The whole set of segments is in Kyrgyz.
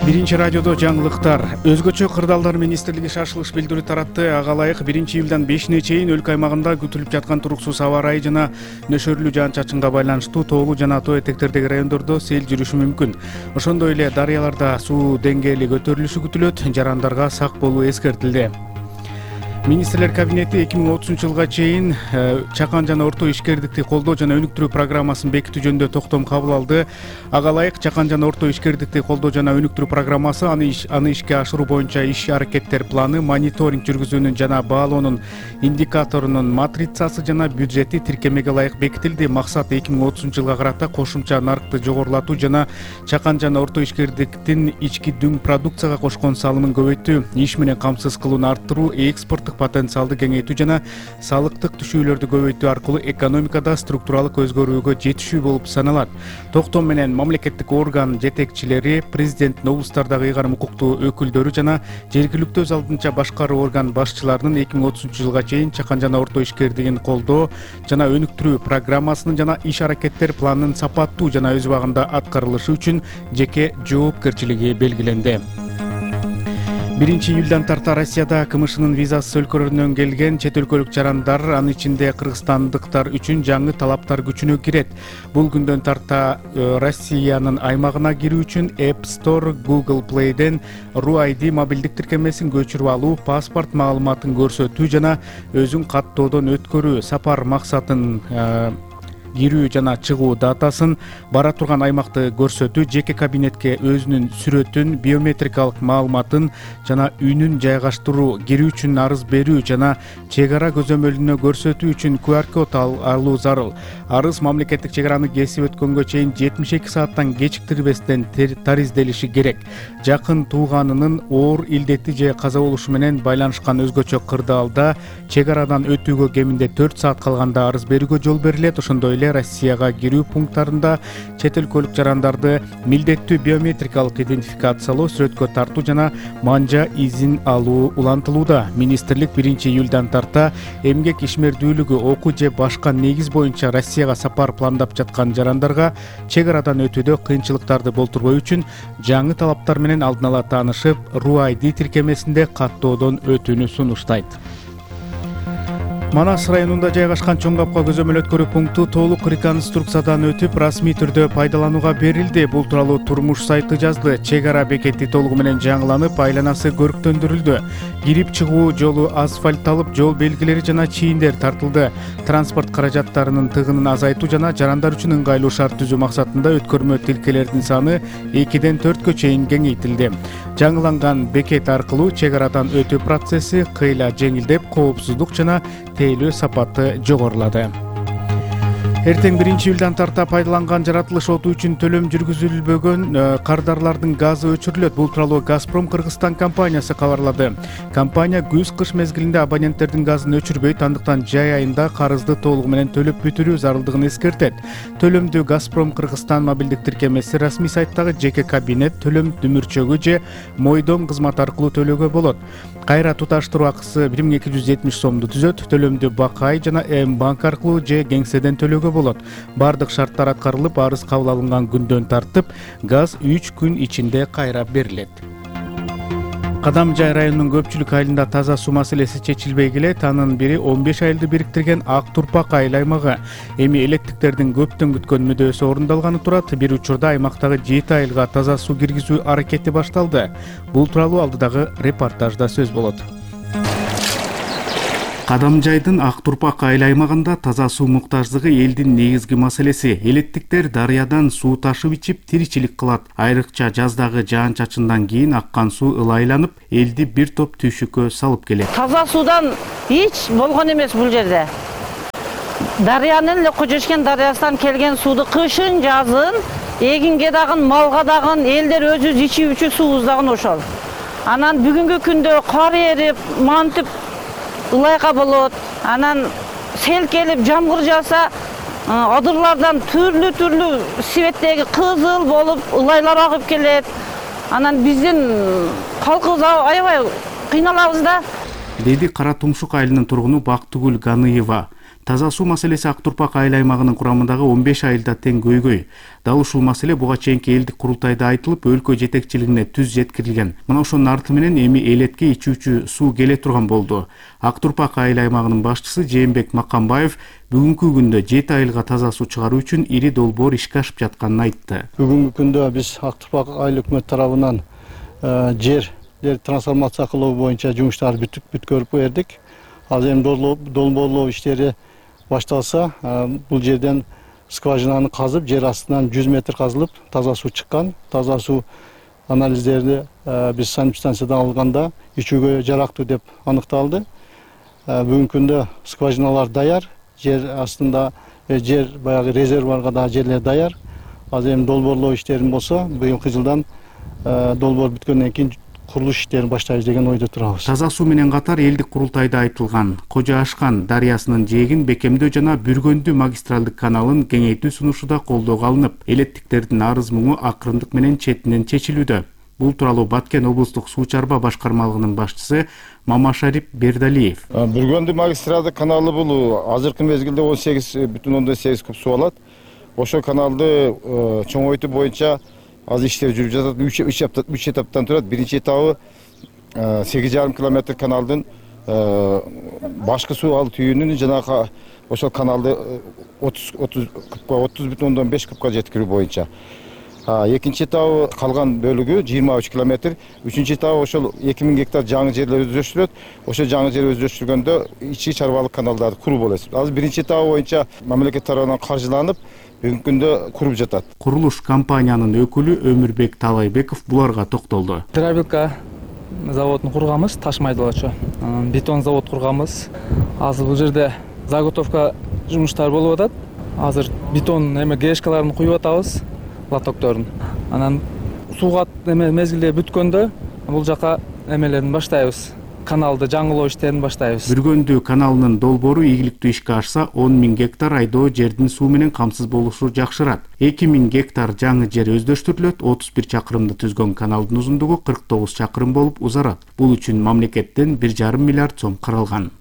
Биринчи радиодо жаңылыктар. Өзгөчө кырдаалдар министрлиги шашылыш билдирүү таратты. Ага ылайык 1-июлдан 5-ине чейин өлкө аймагында күтүлүп жаткан туруксуз аба ырайы жана нөшөрлүү жаан-чачынга байланыштуу тоолуу жана тоо этектердеги райондордо сел жүрүшү мүмкүн. Ошондой эле дарыяларда суу деңгээли көтөрүлүшү күтүлөт. Жарандарга сак болуу эскертилди. Министрлер кабинети 2030-жылга чейин чакан жана орто ишкердикти колдоо жана өнүктүрүү программасын бекитүү жөнүндө токтом кабыл алды. Ага ылайык чакан жана орто ишкердикти колдоо жана өнүктүрүү программасы аны ишке ашыруу боюнча иш-аракеттер планы, мониторинг жүргүзүүнүн жана баалоонун индикаторунун матрицасы жана бюджети тиркемеге ылайык бекитилди. Максат 2030-жылга карата кошумча нарыкты жогорулатуу жана чакан жана орто ишкердиктин ички дүң продукцияга кошкон салымын көбөйтүү, иш менен камсыз кылууну арттыруу, экспорттук потенциалды кеңейтүү жана салыктык түшүүлөрдү көбөйтүү аркылуу экономикада структуралык өзгөрүүгө жетишүү болуп саналат. Токтом менен мамлекеттик орган жетекчилери, президенттин облустардагы ыйгарым укуктуу өкүлдөрү жана жергиликтүү өз алдынча башкаруу орган башчыларынын 2030-жылга чейин чакан жана орто ишкердигин колдоо жана өнүктүрүү программасынын жана иш-аракеттер планынын сапаттуу жана өз убагында аткарылышы үчүн жеке жоопкерчилиги белгиленди. 1-июлдан тарта Россияда КМШнын визасыз өлкөлөрүнөн келген чет өлкөлүк жарандар, анын ичинде кыргызстандыктар үчүн жаңы талаптар күчүнө кирет. Бул күндөн тарта Россиянын аймагына кирүү үчүн App Store, Google Play'ден RUID мобилдик тиркемесин көчүрүп алуу, паспорт маалыматын көрсөтүү жана өзүн каттоодон өткөрүү, сапар максатын кирүү жана чыгуу датасын, бара турган аймакты көрсөтүү, жеке кабинетке өзүнүн сүрөтүн, биометрикалык маалыматын жана үнүн жайгаштыруу, кирүү үчүн арыз берүү жана чек ара көзөмөлүнө көрсөтүү үчүн QR код алуу зарыл. Арыз мамлекеттик чек араны кесип өткөнгө чейин 72 сааттан кечиктирбестен таризделиши керек. Жакын тууганынын оор илдети же каза болушу менен байланышкан өзгөчө кырдаалда чек арадан өтүүгө кеминде 4 саат калганда арыз берүүгө жол берилет. Ошондой эле Россияга кирүү пункттарында чет өлкөлүк жарандарды милдеттүү биометрикалык идентификациялоо, сүрөткө тартуу жана манжа изин алуу улантылууда. Министрлик 1-июлдан тарта эмгек ишмердүүлүгү, окуу же башка негиз боюнча Россияга сапар пландап жаткан жарандарга чек арадан өтүүдө кыйынчылыктарды болтурбоо үчүн жаңы талаптар менен алдын ала таанышып, RUID тиркемесинде каттоодон өтүүнү сунуштайт. Манас районунда жайгашкан Чоң Капка көзөмөл өткөрүү пункту толук реконструкциядан өтүп, расмий түрдө пайдаланууга берилди. Бул тууралуу Турмуш сайты жазды. Чек ара бекети толугу менен жаңыланып, айланасы көрктөндүрүлдү. Кирип чыгуу жолу асфальтталып, жол белгилери жана чийиндер тартылды. Транспорт каражаттарынын тыгынын азайтуу жана жарандар үчүн ыңгайлуу шарт түзүү максатында өткөрмө тилкелердин саны 2-ден 4кө чейин кеңейтилди. Жаңыланган бекет аркылуу чек арадан өтүү процесси кыйла жеңилдеп, коопсуздук жана тейлөө сапаты жогорулады. Эртең 1-июлдан тарта пайдаланган жаратылыш оту үчүн төлөм жүргүзүлбөгөн кардарлардын газы өчүрүлөт. Бул тууралуу Газпром Кыргызстан компаниясы кабарлады. Компания күз-кыш мезгилинде абоненттердин газын өчүрбөйт, андыктан жай айында карызды толугу менен төлөп бүтүрүү зарылдыгын эскертет. Төлөмдү Газпром Кыргызстан мобилдик тиркемеси расмий сайттагы жеке кабинет, төлөм дүмүрчөгү же мойдом кызматы аркылуу төлөөгө болот. Кайра туташтыруу акысы 1270 сомду түзөт. Төлөмдү Бакай жана М-банк аркылуу же кеңседен төлөөгө болот. Бардык шарттар аткарылып, арыз кабыл алынган күндөн тартып, газ 3 күн ичинде кайра берилет. Кадамжай районунун көпчүлүк айылында таза суу маселеси чечилбей келет. Анын бири 15 айылды бириктирген Ак Турпак айыл аймагы. Эми электиктердин көптөн күткөн мүдөөсү орундалганы турат. Бир учурда аймактагы 7 айылга таза суу киргизүү аракети башталды. Бул тууралуу алдыдагы репортажда сөз болот. Кадамжайдын Ак Турпак айыл аймагында таза суу муктаждыгы элдин негизги маселеси. Элеттиктер дарыядан суу ташып ичип тиричилик кылат. Айрыкча жаздагы жаан-чачындан кийин аккан суу ылайланып, элди бир топ түйшүккө салып келет. Таза суудан эч болгон эмес бул жерде. Дарыянын эле Кожошкен дарыясынан келген сууду кышын, жазын, эгинге дагы, малга дагы, элдер өзү ичүү үчүн суубуз дагы ошол. Анан бүгүнкү күндө кар эрип, мантип ылайга болот. Анан сел келип жамгыр жаса, адырлардан түрлүү светтеги кызыл болуп ылайлар агып келет. Анан биздин калкыбыз аябай кыйналабыз да. Деди Кара Тумшук айылынын тургуну Бактыгүл Ганыева. Таза суу маселеси Ак Турпак айыл аймагынын курамындагы 15 айылда тең көйгөй. Дал ушул маселе буга чейинки элдик курултайда айтылып, өлкө жетекчилигине түз жеткирилген. Мына ошонун арты менен эми элетке ичүүчү суу келе турган болду. Ак Турпак айыл аймагынын башчысы Жээнбек Маккамбаев бүгүнкү күндө 7 айылга таза суу чыгаруу үчүн ири долбоор ишке ашып жатканын айтты. Бүгүнкү күндө биз Ак Турпак айыл өкмөт тарабынан жерлерди трансформация кылуу боюнча жумуштарды бүткөрүп бердик. Азыр эми долбоорлоо иштери башталса, бул жерден скважинаны казып, жер астынан 100 метр казылып, таза суу чыккан. Таза суу анализдерди биз санэпидстанциядан алганда ичүүгө жарактуу деп аныкталды. Бүгүнкү күндө скважиналар даяр, жер астында жер баягы резервуарга да жерлер даяр. Азыр эми долбоорлоо иштерин болсо, быйылкы жылдан долбоор бүткөндөн кийин курулуш иштерин баштайбыз деген ойдо турабыз. Таза суу менен катар элдик курултайда айтылган Кожо Ашкан дарыясынын жээгин бекемдөө жана Бүргөндү магистралдык каналын кеңейтүү сунушу да колдоого алынып, элеттиктердин арыз муңу акырындык менен четинен чечилүүдө. Бул тууралуу Баткен облустук суу чарба башкармалыгынын башчысы Мамашарип Бердалиев. Бүргөндү магистралдык каналы бул азыркы мезгилде 18,8 куб суу алат. Ошол каналды чоңойтуу боюнча азыр иштер жүрүп жатат. 3 этаптан турат. Биринчи этабы 8,5 километр каналдын башкы суу алуу түйүнүн жанагы ошол каналды 30,5 кубка жеткирүү боюнча. Экинчи этабы калган бөлүгү 23 километр. Үчүнчү этабы ошол 2000 гектар жаңы жерлер өздөштүрөт. Ошол жаңы жер өздөштүргөндө ички чарбалык каналдарды куруу болот. Азыр биринчи этабы боюнча мамлекет тарабынан каржыланып, бүгүнкү күндө куруп жатат. Курулуш компаниянын өкүлү Өмүрбек Талайбеков буларга токтолду. Дробилка заводун курганбыз, таш майдалоочу. Бетон завод курганбыз. Азыр бул жерде заготовка жумуштары болуп атат. Азыр бетон грешкаларын куюп атабыз, лотокторун. Анан сууга мезгилде бүткөндө бул жака эмелерин баштайбыз. Каналды жаңылоо иштерин баштайбыз. Бүргөндү каналынын долбоору ийгиликтүү ишке ашса, 10.000 гектар айдоо жердин суу менен камсыз болушу жакшырат. 2.000 гектар жаңы жер өздөштүрүлөт. 31 чакырымды түзгөн каналдын узундугу 49 чакырым болуп узарат. Бул үчүн мамлекеттен 1,5 миллиард сом каралган.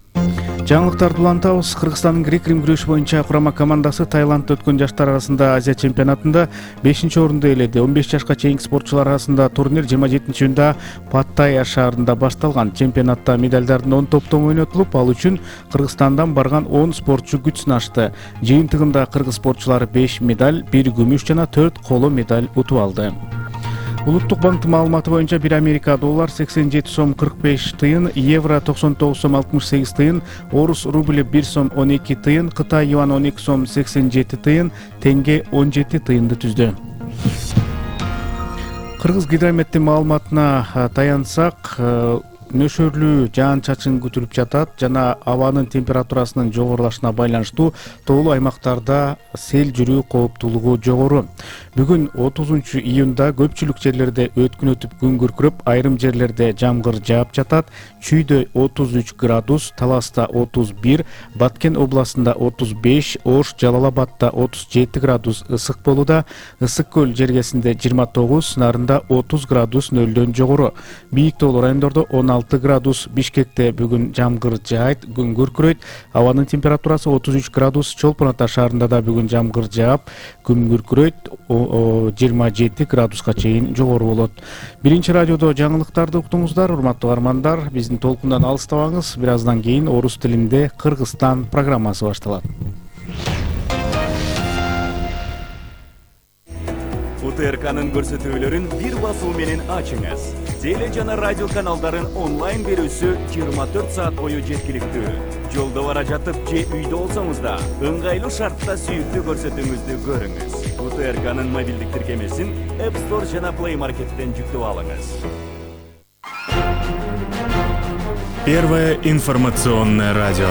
Жаңылыктарды улантабыз. Кыргызстандын грек-рим күрөшү боюнча курама командасы Таиландда өткөн жаштар арасында Азия чемпионатында 5-орунду ээледи. 15 жашка чейинки спортчулар арасында турнир 27-июнда Паттайя шаарында башталган. Чемпионатта медалдардын 10 топтом ойнотулуп, ал үчүн Кыргызстандан барган 10 спортчу күч сынашты. Жыйынтыгында кыргыз спортчулары 5 медаль, 1 күмүш жана 4 коло медаль утуп алды. Улуттук банктын маалыматы боюнча 1 Америка доллар 87 сом 45 тыйын, евро 99 сом 68 тыйын, орус рубль 1 сом 12 тыйын, Кытай юан 12 сом 87 тыйын, тенге 17 тыйынды түздү. Кыргыз гидрометтин маалыматына таянсак, нөшөрлүү жаан-чачын күтүлүп жатат жана абанын температурасынын жогорулашына байланыштуу тоолуу аймактарда сел жүрүү кооптуулугу жогору. Бүгүн 30-июнда көпчүлүк жерлерде өткүн өтүп күн күркүрөп, айрым жерлерде жамгыр жаап жатат. Чүйдө 33 градус, Таласта 31, Баткен областында 35, Ош, Жалал-Абадта 37 градус ысык болууда. Ысык көл жергесинде 29, Нарында 30 градус нөлдөн жогору. Бийик тоолуу райондордо 16 градус, Бишкекте бүгүн жамгыр жаайт, күн күркүрөйт. Абанын температурасы 33 градус, Чолпон Ата шаарында да бүгүн жамгыр жаап, күн күркүрөйт, 27 градуска чейин жогору болот. Биринчи радиодо жаңылыктарды уктуңуздар, урматтуу армандар. Биздин толкундан алыстабаңыз. Бир аздан кийин орус тилинде Кыргызстан программасы башталат. УТРКнын көрсөтүүлөрүн бир басуу менен ачыңыз. Теле жана радио каналдарын онлайн берүүсү 24 саат бою жеткиликтүү. Жолдо бара жатып же үйдө болсоңуз да, ыңгайлуу шартта сүйүктүү көрсөтүүңүздү көрүңүз. УТРКнын мобилдик тиркемесин App Store жана Play Market'тен жүктөп алыңыз. Первое информационное радио.